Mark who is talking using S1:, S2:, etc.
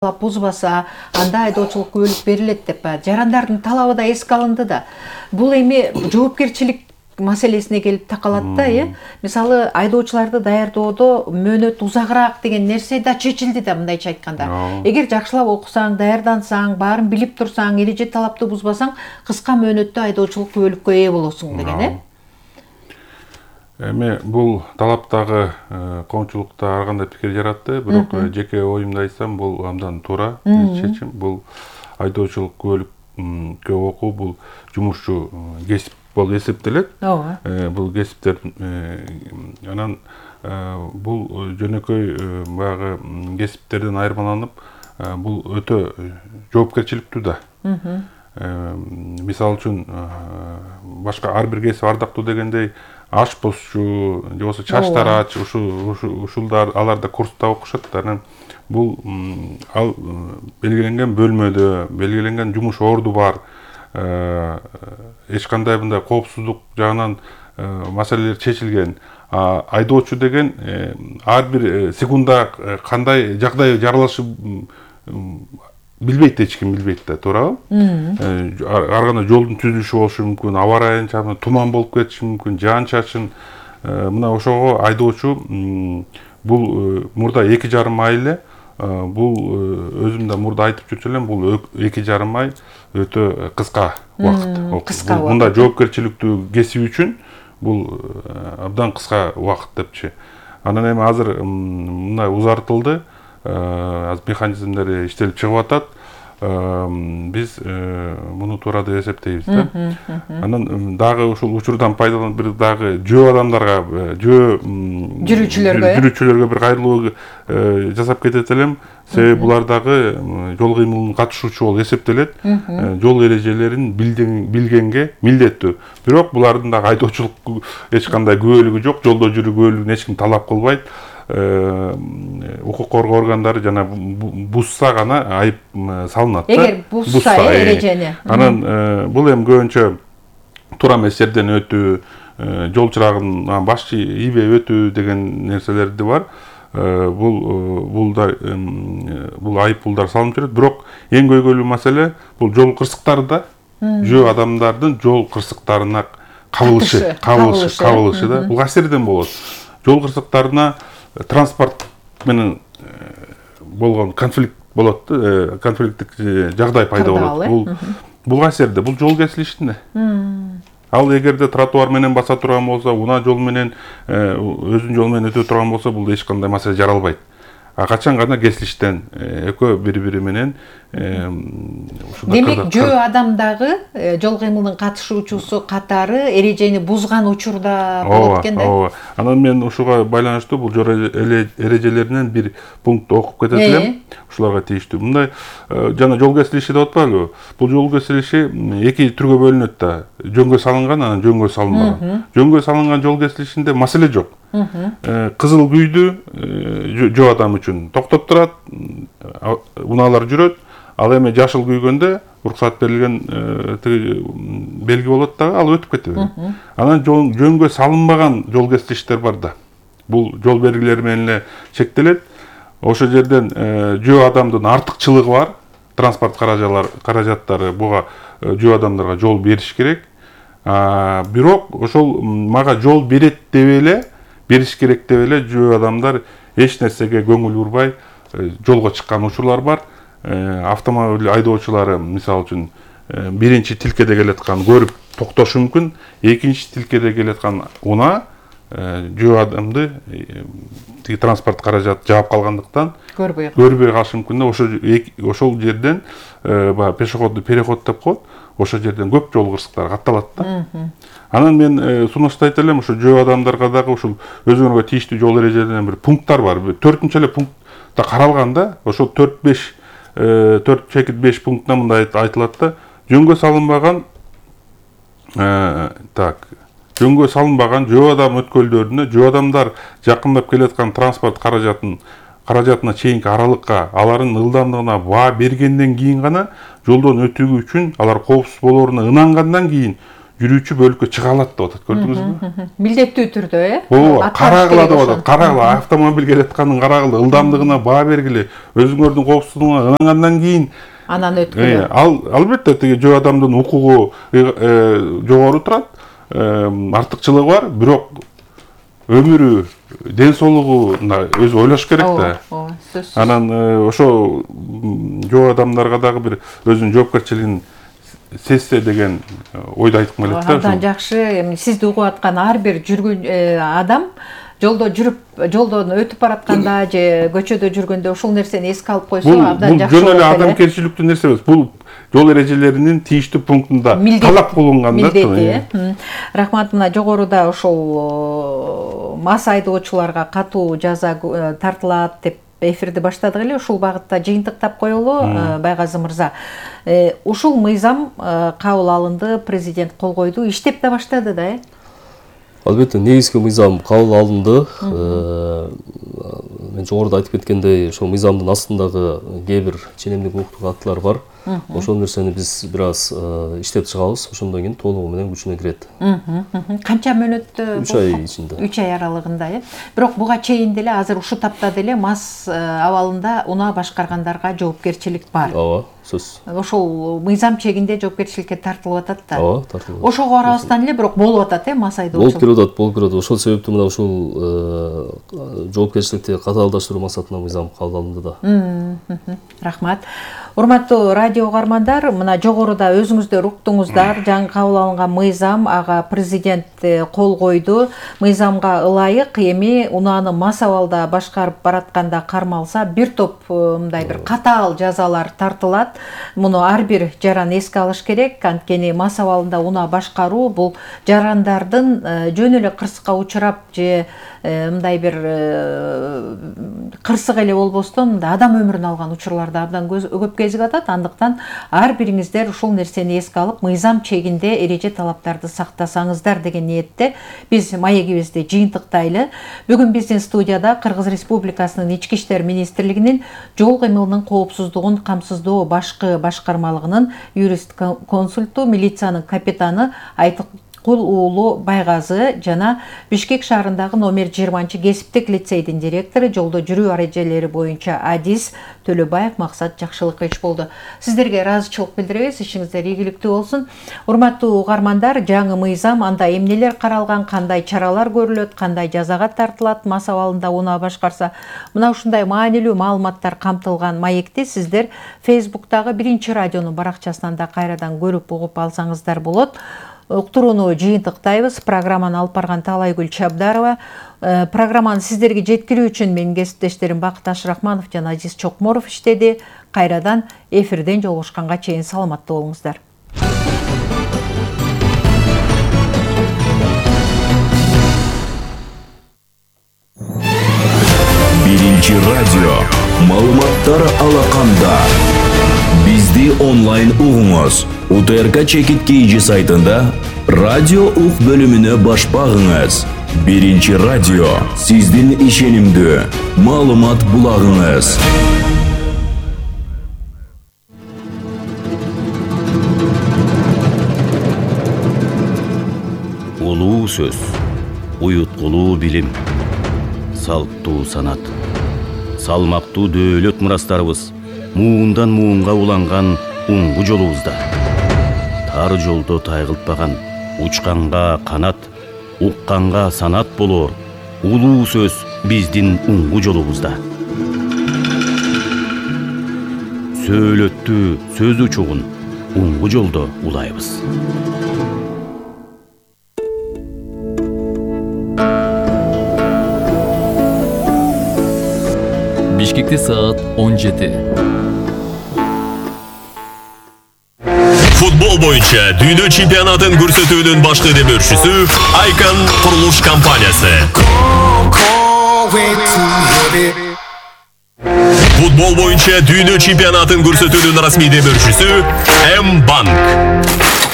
S1: бузбаса анда айдоочулук күбөлүк берилет деп жарандардын талабы да эске алынды да. Бул эми жоопкерчилик маселесине келип такалат да, Мисалы, айдоочуларды даярдоодо мөөнөт узагыраак деген нерсе да чечилди да, мындайча айтканда. Эгер жакшылап окусаң, даярдансаң, баарын билип турсаң, эреже талапты бузбасаң, кыска мөөнөттө айдоочулук күбөлүккө ээ болосуң деген,
S2: Эми бул талаптагы коомчулукта ар кандай пикир жаратты, бирок жеке оюмду айтсам, бул абдан туура чечим. Бул айдоочулук күбөлүккө окуу бул жумушчу кесип болуп эсептелет. Бул кесиптер анан бул жөнөкөй баягы кесиптерден айырмаланып, бул өтө жоопкерчиликтүү да. Мисалы үчүн башка ар бир кесип ардактуу дегендей ашпозчу же болбосо чач тарач ушулдар алар да курста окушат. Анан бул ал белгиленген бөлмөдө, белгиленген жумуш орду бар. Эч кандай мындай коопсуздук жагынан маселелер чечилген. Айдоочу деген ар бир секунда кандай жагдай жаралышы билбейт, эч ким билбейт да, туурабы? Ар кандай жолдун түзүлүшү болушу мүмкүн, аба ырайын, туман болуп кетиши мүмкүн, жаан чачын. Мына ошого айдоочу бул мурда 2,5 ай эле, бул өзүм да мурда айтып жүрчү элем, бул 2,5 ай өтө кыска убакыт. Мындай жоопкерчиликтүү кесип үчүн бул абдан кыска убакыт депчи. Анан эми азыр мындай узартылды. Механизмдери иштелип чыгып атат. Биз муну туура деп эсептейбиз да. Анан дагы ушул учурдан пайдаланып бир дагы жөө адамдарга, жүрүүчүлөргө бир кайрылуу жасап кетет элем. Себеби булар дагы жол кыймылына катышуучу болуп эсептелет. Жол эрежелерин билгенге милдеттүү. Бирок булардын дагы айдоочулук эч кандай күбөлүгү жок, жолдо жүрүү күбөлүгүн эч ким талап кылбайт. Укук коргоо органдары жана бузса гана айып салынат да.
S1: Эгер бузса эрежени.
S2: Анан бул эми көбүнчө туура эмес жерден өтүү, жол чырагынан башчы ийбей өтүү деген нерселерди бар. Бул айып пулдар салынып жүрөт. Бирок эң көйгөйлүү маселе бул жол кырсыктары да. Жөө адамдардын жол кырсыктарына кабылышы да. Бул касерден болот. Жол кырсыктарына транспорт менен болгон конфликт болот, конфликттик жагдай пайда болот. Бул касерде, бул жол кесилишинде. Ал эгерде тротуар менен баса турган болсо, унаа жол менен өзүнүн жолу менен өтө турган болсо, бул эч кандай маселе жаралбайт. Качан гана кесилиштен экөө бири-бири менен
S1: демек жөө адамдагы жол кыймылынын катышуучусу катары эрежени бузган учурда болот экен да.
S2: Анан мен ушуга байланыштуу бул жол эрежелеринен бир пункт окуп кетет элем. Ушуларга тийиштүү. Мындай жана жол кесилиши деп атпайлыбы? Бул жол кесилиши эки түргө бөлүнөт да. Жөнгө салынган, анан жөнгө салынбаган. Жөнгө салынган жол кесилишинде маселе жок. Кызыл күйдү жөө адам үчүн токтоп турат, унаалар жүрөт. Ал эми жашыл күйгөндө уруксат берилген белги болот дагы, ал өтүп кетет. Анан жөнгө салынбаган жол кесилиштер бар да. Бул жол белгилери менен эле чектелет. Ошол жерден жөө адамдын артыкчылыгы бар. Транспорт каражаттары буга жөө адамдарга жол бериш керек. Бирок ошол мага жол берет деп эле, бериш керек деп эле жөө адамдар эч нерсеге көңүл бурбай жолго чыккан учурлар бар. Автомобиль айдоочулары мисалы үчүн биринчи тилкеде келаткан көрүп токтошу мүмкүн, экинчи тилкеде келаткан унаа жөө адамды транспорт каражаты жаап калгандыктан көрбөй калышы мүмкүн да. Ошол жерден пешеходный переход деп коет. Ошол жерден көп жол кырсыктары катталат да. Анан мен сунуштайт элем, ошо жөө адамдарга дагы ушул өзүңөргө тийиштүү жол эрежелеринен бир пункттар бар. 4-нчы эле пунктта каралган да. Ошол 4-5 пунктта мындай айтылат да. Жөнгө салынбаган жөө адам өткөлдөрүнө жөө адамдар жакындап келаткан транспорт каражатына чейинки аралыкка алардын ылдамдыгына баа бергенден кийин гана жолдон өтүү үчүн алар коопсуз болооруна ынангандан кийин жүрүүчү бөлүккө чыга алат деп атат, көрдүңүзбү?
S1: Милдеттүү түрдө,
S2: ооба, карагыла деп атат. Карагыла, автомобиль келаткандын карагыла, ылдамдыгына баа бергиле, өзүңөрдүн коопсуздугуна ынангандан кийин
S1: анан өткүлө.
S2: Албетте тиги жөө адамдын укугу жогору турат, артыкчылыгы бар, бирок өмүрү, ден соолугуна өзү ойлош керек да.
S1: Ооба, сөзсүз.
S2: Анан ошо жөө адамдарга дагы бир өзүнүн жоопкерчилигин сезсе деген ойду айткым келет да.
S1: Абдан жакшы. Сизди угуп аткан ар бир жүргөн адам жолдон өтүп баратканда же көчөдө жүргөндө ушул нерсени эске алып койсо абдан жакшы болот.
S2: Бул жөн эле адамгерчиликтүү нерсе эмес. Бул жол эрежелеринин тийиштүү пунктунда талап кылынган да.
S1: Милдети. Рахмат, мына жогоруда ушул мас айдоочуларга катуу жаза тартылат деп эфирди баштадык эле. Ушул багытта жыйынтыктап коелу, Байгазы мырза. Ушул мыйзам кабыл алынды, президент кол койду, иштеп да баштады да,
S3: Албетте, негизги мыйзам кабыл алынды. Мен жогоруда айтып кеткендей, ошол мыйзамдын астындагы кээ бир ченемдик укуктук актылар бар. Ошол нерсени биз бир аз иштеп чыгабыз, ошондон кийин толугу менен күчүнө кирет.
S1: Канча мөөнөттө?
S3: 3 ай ичинде.
S1: 3 ай аралыгында, Бирок буга чейин деле азыр ушул тапта деле мас абалында унаа башкаргандарга жоопкерчилик бар.
S3: Ооба, сөз.
S1: Ошол мыйзам чегинде жоопкерчиликке тартылып атат да.
S3: Ооба, тартылып.
S1: Ошого карабастан эле бирок болуп атат, мас айдоочулук.
S3: Болуп кирет. Ошол себептен мына ушул жоопкерчиликти катаалдаштыруу максатында мыйзам кабыл алынды да.
S1: Рахмат. Урматтуу радио угармандар, мына жогоруда өзүңүздөр уктуңуздар, жаңы кабыл алынган мыйзам, ага президент кол койду. Мыйзамга ылайык эми унааны мас абалда башкарып баратканда кармалса, бир топ мындай бир катаал жазалар тартылат. Муну ар бир жаран эске алыш керек, анткени мас абалында унаа башкаруу бул жарандардын жөн эле кырсыкка учурап же мындай бир кырсык эле болбостон адам өмүрүн алган учурларды абдан көп кезип атат. Андыктан ар бириңиздер ушул нерсени эске алып, мыйзам чегинде эреже талаптарды сактасаңыздар деген ниетте биз маегибизди жыйынтыктайлы. Бүгүн биздин студияда Кыргыз Республикасынын Ички иштер министрлигинин жол кыймылынын коопсуздугун камсыздоо башкы башкармалыгынын юрист консульту, милициянын капитаны Айткул уулу Байгазы жана Бишкек шаарындагы номер 20 кесиптик лицейдин директору, жолдо жүрүү эрежелери боюнча адис Төлөбаев Максат Жакшылыкович болду. Сиздерге ыраазычылык билдиребиз, ишиңиздер ийгиликтүү болсун. Урматтуу угармандар, жаңы мыйзам, анда эмнелер каралган, кандай чаралар көрүлөт, кандай жазага тартылат мас абалында унаа башкарса, мына ушундай маанилүү маалыматтар камтылган маекти сиздер Facebook'тагы Биринчи радионун баракчасынан да кайрадан көрүп угуп алсаңыздар болот. Уктурууну жыйынтыктайбыз. Программаны алып барган Талайгүл Чабдарова. Программаны сиздерге жеткирүү үчүн менин кесиптештерим Бакыт Ашрахманов жана Азиз Чокморов иштеди. Кайрадан эфирден жолугушканга чейин саламаттуу болуңуздар.
S4: Биринчи радио маалыматтар алаканда. Бизди онлайн угуңуз. УТРК Чекит КЖ сайтында радио ук бөлүмүнө баш багыңыз. Биринчи радио сиздин ишенимдүү маалымат булагыңыз.
S5: Улуу сөз, уюткулуу билим, салттуу санат, салмактуу дөөлөт мурастарыбыз муундан муунга уланган уңгу жолубузда. Тар жолдо тайгылтпаган, учканга канат, укканга санат болоор улуу сөз биздин уңгу жолубузда. Сөөлөттүү сөз учугун уңгу жолдо улайбыз.
S6: Бишкекте саат 17.
S7: Футбол боюнча дүйнө чемпионатын көрсөтүүнүн башкы демөөрчүсү Icon курулуш компаниясы. Футбол боюнча дүйнө чемпионатын көрсөтүүнүн расмий демөөрчүсү М-банк.